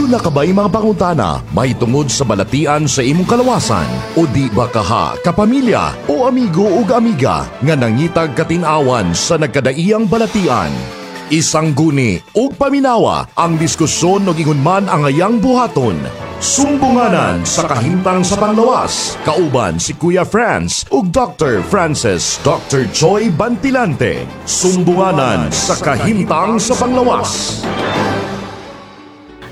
Aduna ka ba'y mga pangutana mahitungod sa balatian sa imong kalawasan? O di ba kaha kapamilya o amigo ug amiga nga nangitag katin-awan sa nagkadaiyang balatian? Isang guni ug paminawa ang diskusyon ug ingon man ang ayang buhaton. Sumbunganan sa kahimtang sa panglawas. Kauban si Kuya Franz ug Dr. Francis Dr. Joy Bantilante. Sumbunganan sa kahimtang sa panglawas.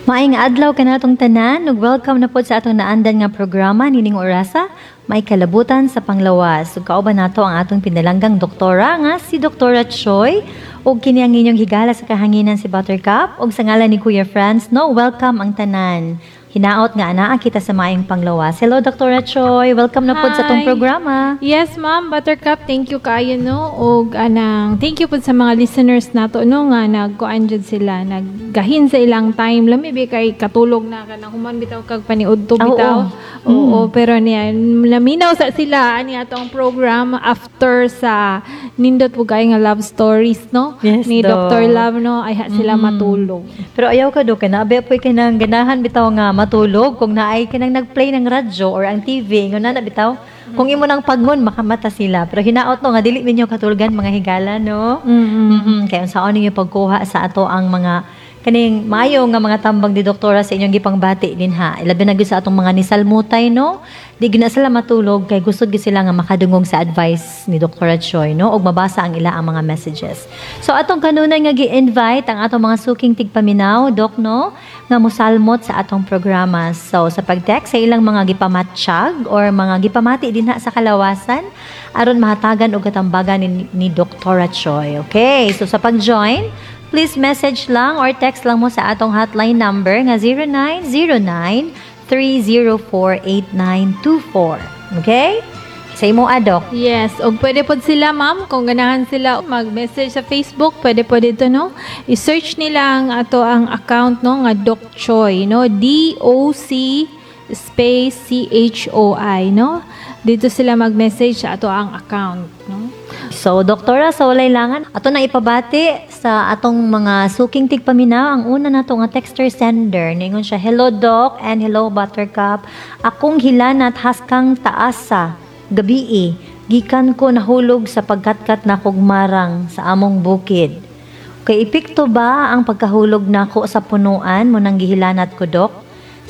Maayong adlaw kanatong tanan ug welcome na pod sa atong naandan nga programa nining orasa, May Kalabutan sa Panglawas. Ug kauban nato ang atong pinalanggang doktora nga si Doktora Choi ug kini ang inyong higala sa kahanginan, si Buttercup, ug sa ngalan ni Kuya Franz, no, welcome ang tanan. Hinaot nga anaa kita sa maayong panglawas. Hello, Doktora Choi, welcome na pod sa atong Hi. Programa. Yes, ma'am, Buttercup, thank you kaayo, no. Og anang thank you pud sa mga listeners nato, no, nga nagkuan jud sila, naggahin sa ilang time. Lami bi kay katulog na ka nang human bitaw kag paniudto bitaw. Oo, pero niya naminaw sa sila ani atong program after sa nindot po kaayo nga love stories, no, ni Doc. Dr. Love, no, ayha sila matulog. Pero ayaw ka do kay naabi po'y kanang ganahan bitaw nga matulog kung naay kanang nagplay ng radyo or ang TV ingon na na bitaw kung imo nang pagngon makamata sila, pero hinaot, no, nga dili ninyo katulgan, mga higala, no. Kay unsaon ninyo pagkuha sa ato ang mga kaning maayo nga mga tambag ni doktora sa inyong gipangbati din ha, ilabi na gyud sa atong mga nisalmutay, no, di gyud na sila matulog kay gusto gyud sila nga makadungog sa advice ni Doktora Choi, no, ug mabasa ang ila ang mga messages. So atong kanunay nga gi-invite ang atong mga suking tigpaminaw, Dok, no, nga musalmot sa atong programa. So sa pag-text sa ilang mga gipamatsyag or mga gipamati dinha sa kalawasan aron mahatagan og katambagan ni Doktora Choi. Okay, so sa pag-join, please message lang or text lang mo sa atong hotline number nga 0909 304 8924. Okay? Sa imo, Adok. Yes, og pwede pod sila, ma'am, kung ganahan sila mag-message sa Facebook, pwede po dito, no. I-search nila ang ato ang account, no, nga Doc Choi, no, D O C space C H O I, no. Dito sila mag-message sa ato ang account, no. So, Doktora, sa walay langan, ato na ipabati sa atong mga suking tigpaminaw. Ang una nato nga texter sender, ningon siya, "Hello Doc and hello Buttercup. Akong hilanat haskang taasa, gabii, gikan ko nahulog sa pagkatkat na kog marang sa among bukid. Kay epekto ba ang pagkahulog nako sa punuan mo nang gihilanat ko, Dok?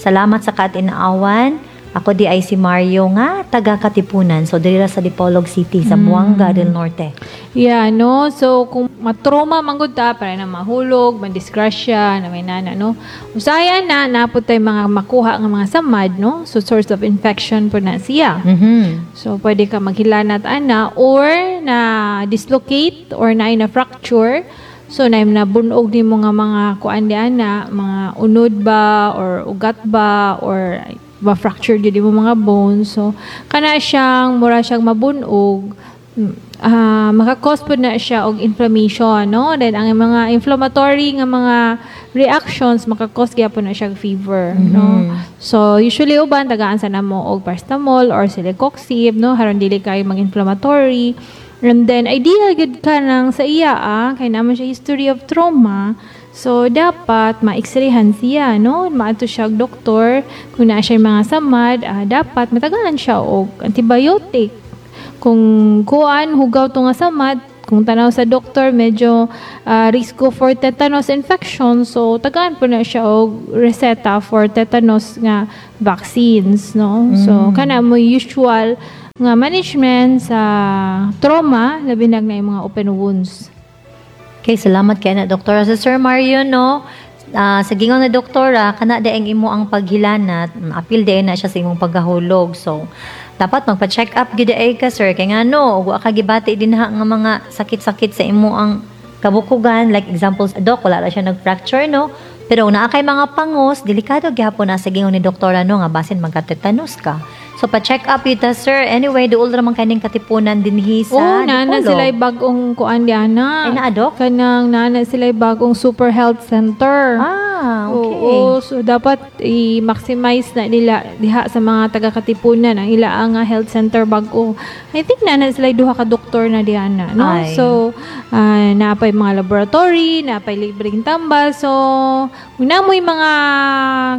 Salamat sa katinaawan. Ako di ay si Mario nga taga Katipunan." So diri ra sa Dipolog City, Zamboanga del Norte. Yeah, no? So, kung matrauma man gud ta, para na mahulog, madisgrasya, na may nana, no? Usayan na, napot tay mga makuha nga mga samad, no? So, source of infection po na siya. So, pwede ka maghilanat ana or na dislocate or na na fracture. So, na na bunog ni mo nga mga kuan di ana, mga unod ba or ugat ba or ma-fracture gyud mo mga bones. So, kana siyang mura siyang mabunog, maka-cause pod na siya og inflammation, no? Then ang mga inflammatory nga mga reactions, maka-cause gyapon na siya og fever, no? So usually uban tagaan sa namo og paracetamol or celecoxib, no, haron dili kay mag-inflammatory. And then ideal gud ka nang sa iya, kay naman siya history of trauma. So dapat ma-x-rayhan siya, no? Maadto siya og doktor kung naa siya mga samad, dapat matagaan siya og antibiotic. Kung kuan hugaw to nga samad, kung tanaw sa doktor medyo risko for tetanus infection, so tagaan po na siya og reseta for tetanus nga vaccines, no? So kana mo usual nga management sa trauma, labi na yung mga open wounds. Okay, salamat kay na, Doktora. Sa Sir Mario, no, sa gingon na doktora, kana daeng imo ang paghilanat, apil dayon na siya sa imong pagkahulog. So, dapat magpa-check up gyud ay ka, sir. Kay ngano, wa ka gibati dinha nga mga sakit-sakit sa imo ang kabukugan. Like example, Doc, wala ra siya nag-fracture, no? Pero naa kay mga pangos, delikado gyapon na sa gingon ni doktora, no, nga basin magka-tetanus ka. So pa-check up ita, sir. Anyway, duol ra man kaning Katipunan dinhi sa Oh, nana Dipolog. sila bagong kuan di ana. Ay, naa, Dok? Kanang nana sila bagong super health center. Ah, okay. Oo, so dapat i-maximize na nila diha sa mga taga-Katipunan ang ila nga health center bag-o. I think na sila duha ka doktor na diha na, no? Ay. So, napay mga laboratory, napay libreng tambal. So, kung namoy mga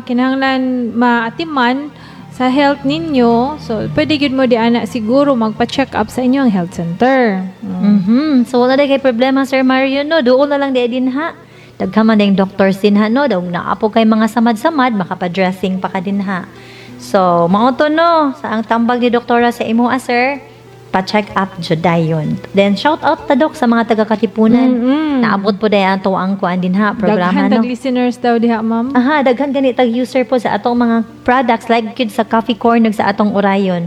kinahanglan maatiman sa health ninyo, so pwede gyud mo di ana siguro magpa-check up sa inyong health center. So wala kay problema, Sir Mario, no. Duol na lang di din ha. Daghan man ding doctors din ha, no. Daw naapo kay mga samad-samad, makapa-dressing pa ka din ha. So mao to, no, sa ang tambag ni doktora sa imo, ah, sir. Pa-check up jud dayon. Then shout out ta, Dok, sa mga taga-Katipunan. Naabot po dayon ato ang kuan din ha, programa, Daghan no. tag listeners daw diha, ma'am. Aha, daghan gani tag user po sa atong mga products like gyud sa coffee corn ug sa atong Orion.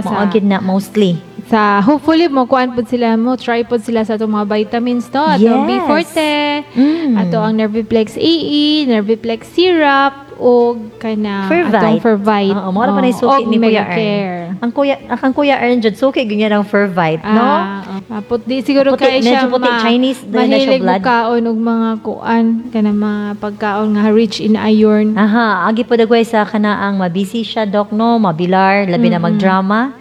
Mao gyud na mostly. Sa hopefully mo kuan pud sila, mo try pud sila sa atong mga vitamins to, atong B Forte, ato ang Nerviplex AE, Nerviplex syrup ug kanang Fervite. atong Fervite. Oo, mao ra pa na suki Og ni Kuya Megacare. Ern. Ang Kuya Ern jud suki gyud niya ng Fervite, no? Ah, oh. Puti siguro Puti, kay siya medyo puti, Chinese din na siya mahilig blood. mo kaon og mga kuan kanang mga pagkaon nga rich in iron. Aha, agi po dagway sa kanaang mabisi siya, Dok, no, mabilar, labi na magdrama.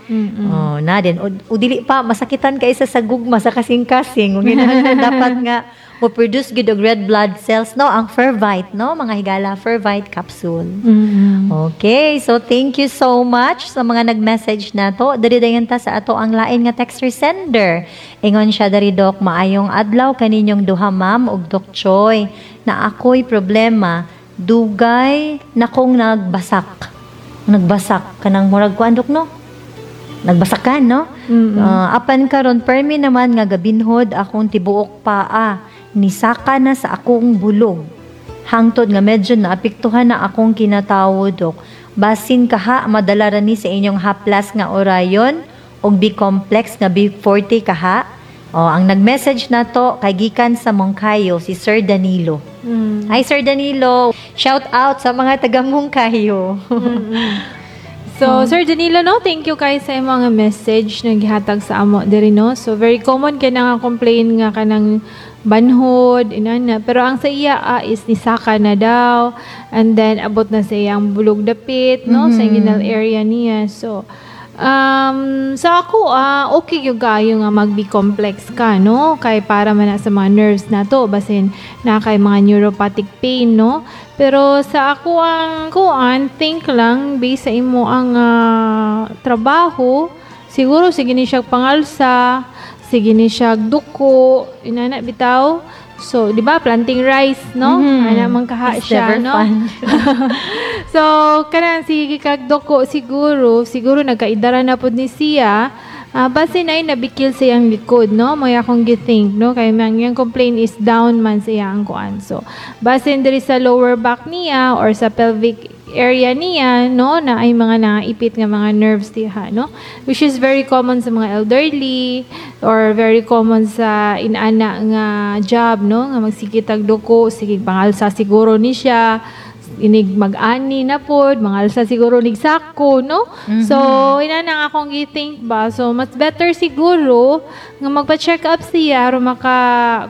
Oh, na din. O dili pa masakitan kay sa gugma sa kasing-kasing. Ug ginahanglan dapat nga mo produce gid og red blood cells, no, ang Fervite, no, mga higala, Fervite capsule. Okay, so thank you so much sa mga nag-message na to. Dali dayon ta sa ato ang lain nga texter sender. Ingon siya dari, Dok, "Maayong adlaw kaninyong duha, ma'am ug Dok Choi. Na ako'y problema, dugay na kong nagbasak." Nagbasak kanang murag kuan, Dok, no? Nagbasakan, no? "Ah, apan karon permi naman nga gabinhod akong tibuok paa. Nisaka na sa akong bulog. Hangtod nga medyo naapektuhan na akong kinatawo, Dok. Basin kaha madala ra ni sa inyong haplas nga Orion og B-complex nga B40 kaha." Oh, ang nag-message na to kay gikan sa Moncayo, si Sir Danilo. Hi, Sir Danilo. Shout out sa mga taga Moncayo. So, Sir Danilo, no, thank you kay sa imong mga message na gihatag sa amo diri, no. So, very common kay nga complain nga kanang banhod, inana. Pero ang sa iya is nisaka na daw and then abot na sa iyang bulog dapit, no, sa inguinal area niya. So, sa ako, okay yung kayo nga mag B complex ka, no? Kay para man na sa mga nerves na to, basin na kay mga neuropathic pain, no? Pero sa ako ang kuan, think lang, based sa imo ang trabaho, siguro sige ni siya pangalsa, sige ni siya duko, inana bitaw. So, di ba, planting rice, no? Ana man kaha It's siya, never no? fun. So, kanang sige kag duko siguro, siguro nagkaidara na pud ni siya. Basin ay nabikil sa iyang likod, no? May akong gi-think, no? Kay mang iyang complaint is down man sa iyang kuan. So, basin diri sa lower back niya or sa pelvic area niya, no, na ay mga naipit nga mga nerves diha, no? Which is very common sa mga elderly or very common sa inana nga job, no? Nga magsigitag duko, sige pangalsa siguro ni siya, inig mag-ani na pod, mangalsa siguro nig sako, no? So, ina na nga akong gi-think ba. So, mas better siguro nga magpa-check up siya aron maka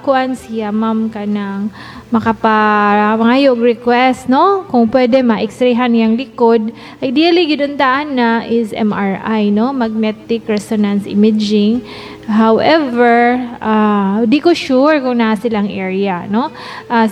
kuan siya, ma'am, kanang makapa mangayog request, no? Kung pwede ma-x-rayhan niyang likod. Ideally gid untaan na is MRI, no, magnetic resonance imaging. However, di ko sure kung naa silang area, no?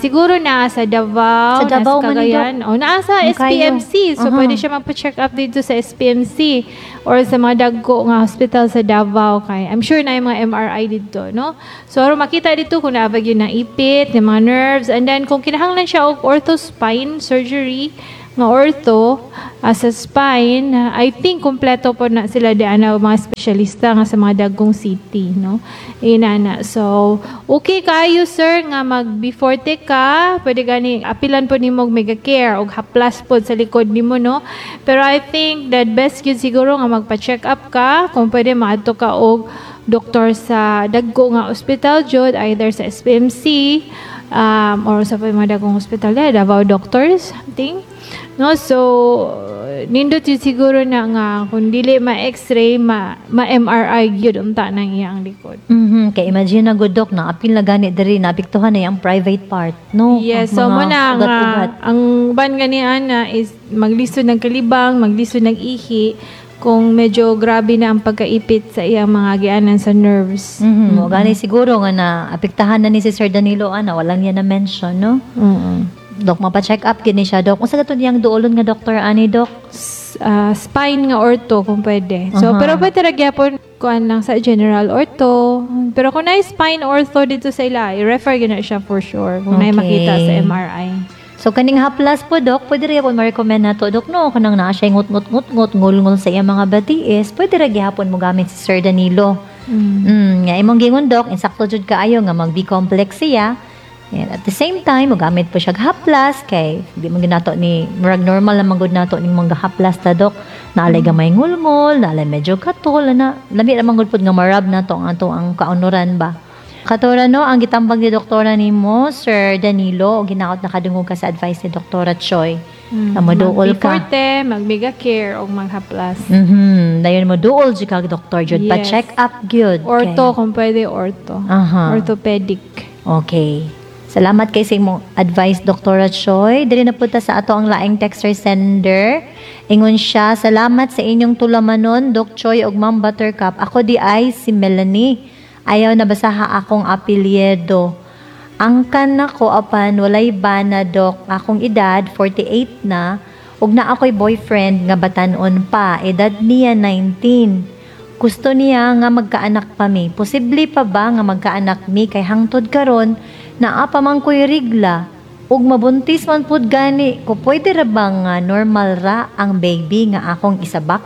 Siguro naa sa Davao, Sa Davao naa sa man ni, Cagayan, o naa sa Moncayo. SPMC. So pwede siya magpa-check up dito sa SPMC or sa mga dagko nga hospital sa Davao kay I'm sure na yung mga MRI dito, no? So aron makita dito kung naa ba gyud naipit ng mga nerves and then kung kinahanglan siya og ortho spine surgery nga ortho sa spine, I think kompleto po na sila di ana mga espesyalista nga sa mga dagkong city, no? Inana. So, okay kayo, sir, nga mag B40 ka, pwede gani apilan po nimo og Megacare og haplas pod sa likod nimo, no? Pero I think that best gyud siguro nga magpa-check up ka, kung pwede maadto ka og doktor sa dagko nga ospital jud, either sa SPMC or sa mga dagkong hospital, yeah, Davao Doctors, something. No, so nindot yun siguro na nga kung dili ma-X-ray, ma-MRI gyud unta nang iyang likod. Kay imagine na gud, Dok, na apil na gani diri, naapektuhan na yung private part, no? Yes, Ang so mga mo na nga ugat-ugat. Ang uban gani ana is maglisod ng kalibang, maglisod ng ihi kung medyo grabe na ang pagkaipit sa iyang mga gianan sa nerves. Mo gani siguro nga na apektahan na ni si Sir Danilo ana, walang niya na mention, no? Dok, mapa-check up gini siya, Dok. Unsa kato niyang duolon nga doktor ani, Dok? Spine nga ortho kung pwede. So, pero pwede ra gyapon kuan lang sa general ortho. Pero kung naay spine ortho dito sa ila, i-refer gyud na siya for sure kung naay makita sa MRI. So kaning haplas po, Dok, pwede ra gyapon ma-recommend nato, Dok, no? Kanang naa siya ngut ngut ngut ngut ngul-ngul sa iyang mga batiis, pwede ra gihapon mo gamit si Sir Danilo. Nga imong gingon, Dok, insakto jud kaayo nga mag B complex siya. And at the same time, mogamit po siya og haplas kay di man gyud nato ni murag normal lang gud nato ning mga haplas ta, Dok. Naalay gamay ngulngol, naalay medyo katol na lami ra man gud pud nga marab nato ang ato ang kaunuran ba. Katora no, ang gitambag ni doktora nimo, Sir Danilo, og ginaot nakadungog ka sa advice ni Doktora Choi. Na moduol ka. Mag-Forte, mag-Mega Care o maghaplas. Dayon mo duol jud kag doktor jud pa check up gyud. Ortho kung pwede, ortho. Orthopedic. Okay. Salamat kay sa imong advice, Dr. Choi. Diri na punta sa ato ang laing texter sender. Ingon siya, "Salamat sa inyong tulamanon, Doc Choi ug Ma'am Buttercup. Ako di ay si Melanie. Ayaw na basaha akong apelyido. Angkan nako apan walay bana, Dok. Akong edad 48 na ug naa ako'y boyfriend nga batanon pa. Edad niya 19. Gusto niya nga magkaanak pa mi. Posible pa ba nga magkaanak mi kay hangtod karon naa pa man ko'y rigla ug mabuntis man pud gani ko? Pwede ra ba nga normal ra ang baby nga akong isabak?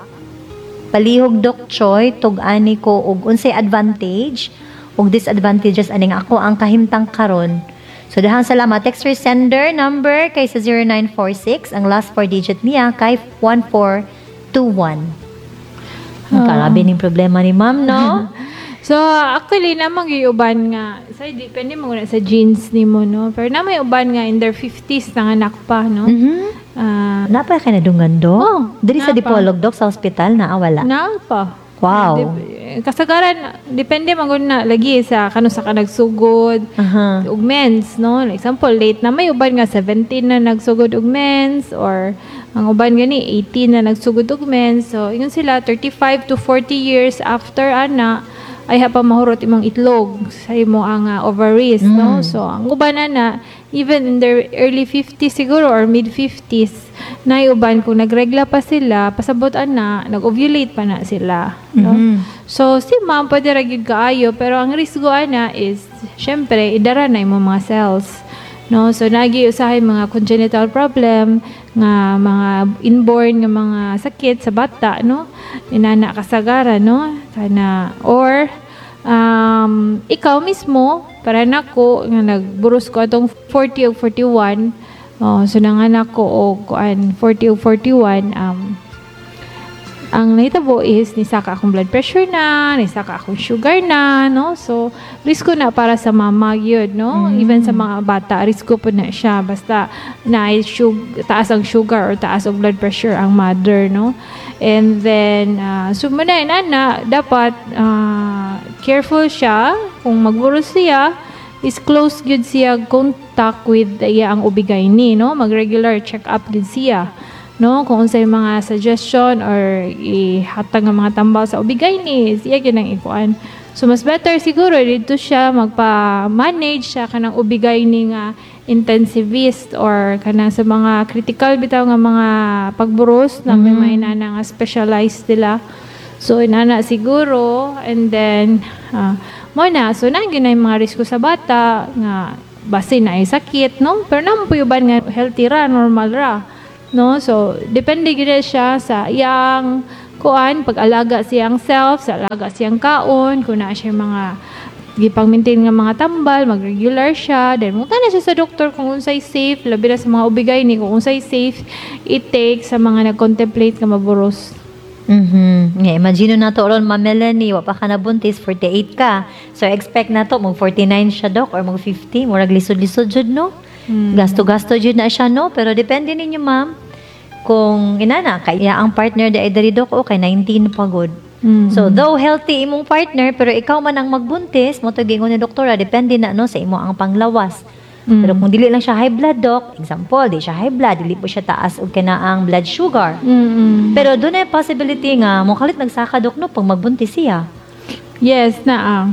Palihog, Doc Choi, tug-ani ko og unsay advantage ug disadvantages aning ako ang kahimtang karon." So dahang salamat. Texter sender number kay sa 0946, ang last four digit niya kay 1421. Ang karabi ning problema ni ma'am, no? So, actually, namang uban nga, sa depende mo na sa genes nimo, no? Pero na may uban nga in their 50s nanganak pa, no? Napa kay nadungan, Dok? Oh, Diri sa napa. Dipolog, Dok, sa ospital na wala? Na pa. Kasagaran, depende man gud na lagi sa kano sa ka nagsugod og mens, no? Like example, late na, may uban nga 17 na nagsugod og mens or ang uban gani 18 na nagsugod og mens. So, ingon sila 35 to 40 years after ana ay pa mahurot imong itlog sa imo ang ovaries, no? So, ang uban na na even in their early 50s siguro or mid 50s na uban kung nagregla pa sila, pasabot ana, nag-ovulate pa na sila, no? So, si ma'am pwede ra gyud kaayo, pero ang risgo ana is syempre idara na imong mga cells, no? So nagi usahay mga congenital problem nga mga inborn nga mga sakit sa bata, no? Inana kasagara, no? Kana or ikaw mismo, para nako nga nagburos ko atong 40 o 41, oh, so nanganak ko og kuan 40 o 41, ang nahitabo is nisaka akong blood pressure na, nisaka akong sugar na, no? So, risko na para sa mama gyud, no? Even sa mga bata, risko po na siya. Basta na taas ang sugar or taas ang blood pressure ang mother, no? And then, so muna na, dapat careful siya. Kung magburos siya, is close gyud siya contact with iya ang OB-GYN, no? Mag-regular check-up gyud siya, no? Kung unsay mga suggestion or ihatag ng mga tambal sa OB-GYN, siya gyud ang ikuan. So mas better siguro dito siya magpa-manage siya kanang OB-GYN nga intensivist or kanang sa mga critical bitaw nga mga pagburos na may mga inana nga specialized nila. So inana siguro, and then mo na, so na gyud na yung mga risko sa bata nga base na ay sakit, no? Pero naman po uban nga healthy ra, normal ra, no? So depende gyud na siya sa iyang kuan, pag-alaga siyang self, sa alaga siyang kaon, kung naa siya mga gipang-maintain nga mga tambal, mag-regular siya, then munta na siya sa doktor kung unsay safe, labi na sa mga OB-GYN ni, kung unsay safe i-take sa mga nag-contemplate nga maburos. Nga, imagine na to ron, Ma'am Melanie, wa pa ka nabuntis, 48 ka. So, expect na to, mag 49 siya, Dok, or mag 50, murag lisod-lisod jud, no? Gasto-gasto jud na siya, no? Pero depende ninyo, ma'am. Kung inana kay ang partner di ay diri, Dok, o kay 19 pa gud. So though healthy imong partner, pero ikaw man ang magbuntis, mao to giingon ni doktora, depende na, no, sa imo ang panglawas. Pero kung dili lang siya high blood, Doc, example, di siya high blood, dili po siya taas og kanaang blood sugar. Pero dunay possibility nga mokalit nagsaka, Dok, no, pag magbuntis siya. Yes, naa.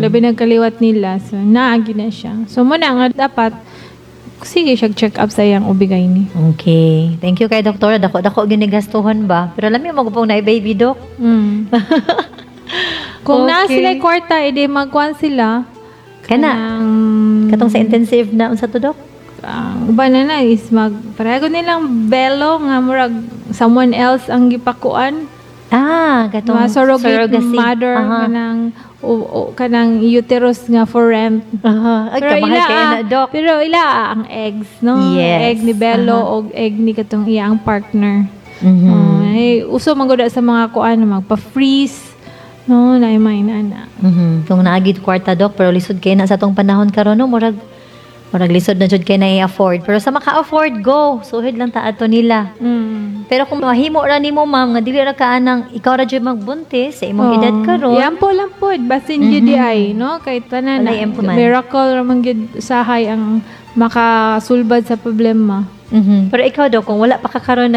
Labi nagkaliwat nila. So, naa gyud na siya. So, mao na nga dapat sige siya check up sa iyang OB-GYN. Okay. Thank you kay doktora. Dako dako ginigastuhon ba? Pero lami mo gupong na baby, Doc. Kung naa sila kwarta, edi magkuan sila. Kana Kanang, katong sa intensive na unsa to, Dok? Ang uban na na is mag pareho nilang belo nga murag someone else ang gipakuan. Ah, katong Mga surrogate surrogacy. mother, kanang o kanang uterus nga for rent. Ay, kamahal kayo na, Doc. Pero ila ang eggs, no? Egg ni Belo o egg ni katong iya ang partner. Oh, ay, uso man gud sa mga kuan magpa-freeze. No, na may na. Kung naagid kwarta, Dok, pero lisod kay na sa atong panahon karon, no, murag murag lisod na jud kay na i-afford. Pero sa maka-afford, go. Suhid lang ta ato nila. Pero kung mahimo ra nimo, ma'am, nga dili ra ka anang ikaw ra jud magbuntis sa imong edad karon. Iampo lang pod basin gyud di ay, no? Kay tanan Walay na, empo man. miracle ra man gyud sahay ang makasulbad sa problema. Pero ikaw, Dok, kung wala pa ka karon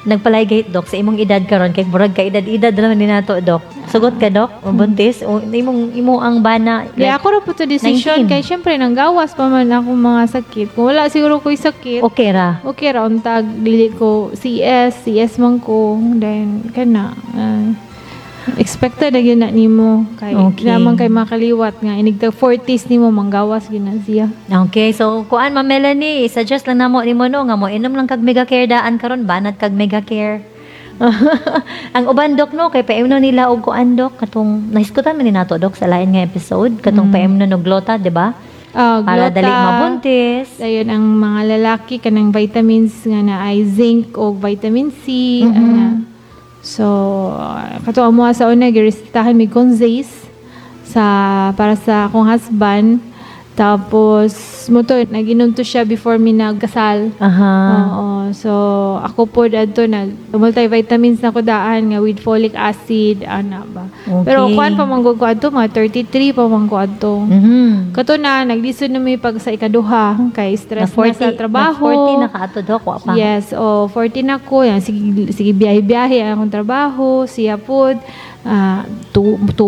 nagpa-ligate, Dok, sa imong edad karon, kay murag ka edad-edad naman ni nato, Dok. Sugot ka, Dok, mabuntis o imong imo ang bana? Kaya ako ra po to decision 19. kay syempre nanggawas pa man akong mga sakit. Kung wala siguro ko'y sakit, Okay ra. Okay ra untag dili ko CS, CS man ko, then kana expected na gyud na nimo kay naman kay makaliwat nga inig tag 40s nimo manggawas gyud na siya. Okay, so kuan, Ma'am Melanie, suggest lang namo nimo, no, nga mo inom lang kag Mega Care daan karon, banat kag Mega Care. Ang uban, Dok, no, kay paimno nila og kuan, Dok, katong nahisgutan man ni nato, Dok, sa lain nga episode, katong paimno og glota, di ba? Ah, Para glota. dali mabuntis. Dayon ang mga lalaki kanang vitamins nga na ay zinc o vitamin C, ana. So kato amo sa una giresetahan mi Conzace sa para sa akong husband. Tapos mo to naginom to siya before mi nagkasal. Oo. So ako po adto nag multivitamins na ko daan nga with folic acid ana ba. Pero kuan pa man gud ko adto, mga 33 pa man ko adto. Kato na naglisod na mi pag sa ikaduha kay stress na sa trabaho. Na 40 na ka ato, Dok, wa pa. Yes, oh, 40 na ko. Yan, sige, sige biyahe-biyahe ang akong trabaho. Siya pod, 2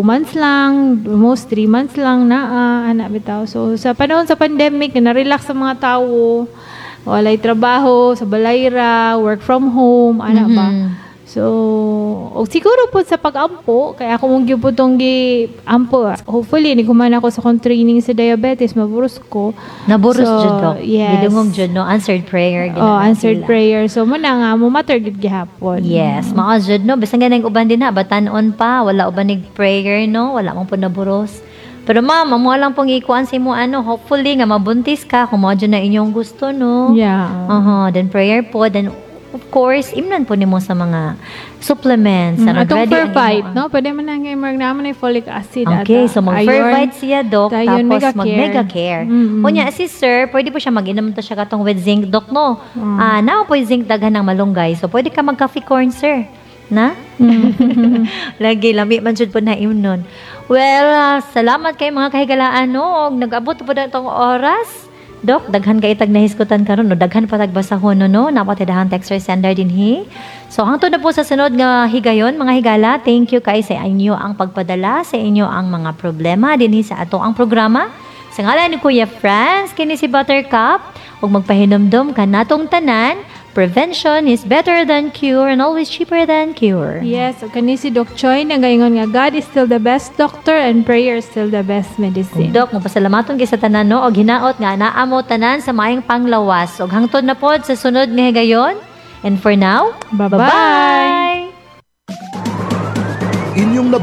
months lang, almost 3 months lang na, ana bitaw. So, sa panahon sa pandemic, na-relax sa mga tao, walay trabaho, sa balayra, work from home, ana ba. So, o siguro po sa pag-ampo, kaya ako mong gyud po tong gi-ampo. Hopefully, ni kuman ako sa akong training sa diabetes, maburos ko. Naburos So, jud, Dok. yes. Gidungog jud, no, answered prayer. Oh, answered sila. prayer. So, mo na nga, mo matter gid gihapon. Yes, mao jud, no. Bisan ganang uban din na batan-on pa, wala uban nig prayer, no, wala mong po naburos. Pero ma'am, amo lang pong ikuan sa imo ano, hopefully nga mabuntis ka kung mao jud na inyong gusto, no. Then prayer po, then of course, imnan po nimo sa mga supplements. Ano, Atong ready ang Fervite, imo no? Pwede man na nga marag naman ay folic acid. Okay, ata. so mag-Fervite siya, Dok, Dayon, tapos Mega mag Care. Mega Care. Unya, si sir, pwede po siya mag-inom to siya katong with zinc, Dok, no? Ah, naa po yung zinc daghan ng malunggay. So, pwede ka mag-coffee corn, sir. Na? Lagi, lami man jud po na imnon. Well, salamat kay mga kahigalaan, no? Og nag-abot po na itong oras. Dok, daghan kay tag nahisgutan karon, no? Daghan pa tag basahon, no, no? Napatidahang texter sender din hi. So hangtod na po sa sunod nga higayon, mga higala. Thank you kay sa inyo ang pagpadala, sa inyo ang mga problema dinhi sa ato ang programa. Sa ngalan ni Kuya Franz, kini si Buttercup, ug magpahinumdum kanatong tanan, prevention is better than cure and always cheaper than cure. Yes, ug kani si Doc Choi nagaingon nga God is still the best doctor and prayer is still the best medicine. Dok, mapasalamaton kay sa tanan, no, og hinaot nga naa mo tanan sa maayong panglawas. Ug hangtod na pod sa sunod nga higayon. And for now, Bye-bye.